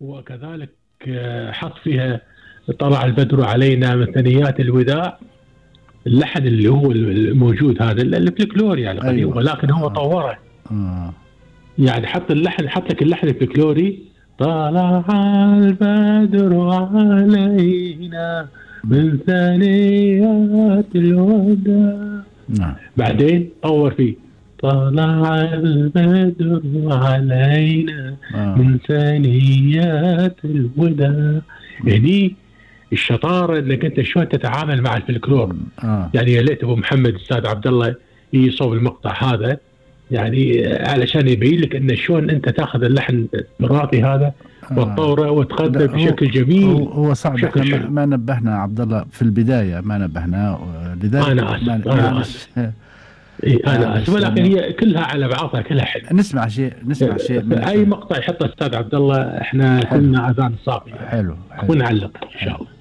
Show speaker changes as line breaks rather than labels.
وكذلك حط فيها طلع البدر علينا من ثنيات الوداع. اللحن اللي هو الموجود هذا الفلكلوري يعني قديم،
أيوة.
ولكن هو طوره. يعني حط اللحن، حط لك اللحن الفلكلوري: طلع البدر علينا من ثنيات الوداع. بعدين طور فيه: طلع البدر علينا من ثنيات الوداع. يعني الشطاره انك انت شلون تتعامل مع الفلكلور. يعني يا ليت ابو محمد الاستاذ عبد الله يصوب المقطع هذا، يعني علشان يبين لك ان شلون انت تاخذ اللحن التراثي هذا وتطوره وتقدم بشكل جميل.
هو صعب، احنا ما نبهنا عبد الله في البدايه، ما نبهنا لذلك.
انا اسف انا اسف، ولكن هي كلها على بعضها، كلها حلو.
نسمع شيء من
اي مقطع يحطه الاستاذ عبد الله، احنا كلنا اذان صافيه.
حلو
ونعلق ان شاء الله.